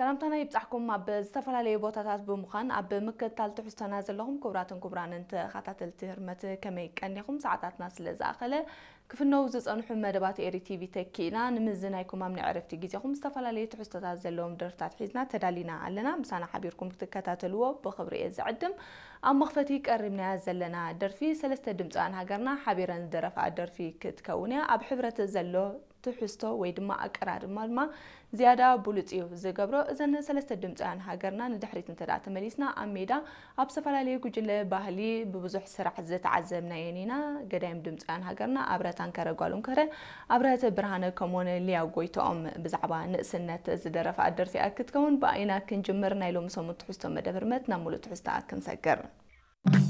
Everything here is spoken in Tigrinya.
ሰላምታና ይብጻሕኩም። ኣብ ዝተፈላለዩ ቦታታት ብምዃን ኣብ ምክትታል ትሕዝቶና ዘለኹም ክቡራትን ክቡራንን ተኸታተልቲ ህርመት፣ ከመይ ቀኒኹም? ሰዓታትና ስለ ዝኣኸለ፣ ክፍነው ዝጸንሑ መደባት ኤሪ ቲቪ ተኪእና ንምዝናይኩም ኣብ ናይ ዕረፍቲ ግዜኹም ዝተፈላለዩ ትሕዝቶታት ዘለዎም ደርፍታት ሒዝና ተዳሊና ኣለና። ምሳና ሓቢርኩም ክትከታተልዎ ብኽብሪ እየ ዝዕድም። ኣብ መኽፈቲ ቀሪብናያ ዘለና ደርፊ ሰለስተ ድምፃውያን ሃገርና ሓቢረን ዝደረፋ ደርፊ ክትከውን እያ። ኣብ ሕብረት ዘሎ ትሕዝቶ ወይ ድማ ኣቀራርማ ድማ ዝያዳ ብሉፅ እዩ ዝገብሮ። እዘን ሰለስተ ድምፃውያን ሃገርና ንድሕሪት እንተ ደኣ ተመሊስና፣ ኣብ ሜዳ ኣብ ዝተፈላለዩ ጉጅለ ባህሊ ብብዙሕ ስራሕ ዝተዓዘብናየን ኢና። ገዳይም ድምፃውያን ሃገርና ኣብረ ታንከረ ጓሎም ከረ፣ ኣብረተ ብርሃነ ከምኡውን ሊያ ጎይትኦም ብዛዕባ ንእስነት ዝደረፋ ደርፊ ክትከውን ብኣይና ክንጅምር። ናይ ሎሚ ሰሙን ትሕዝቶ መደብ ህርመት ናብ ሙሉእ ትሕዝታ ክንሰግር።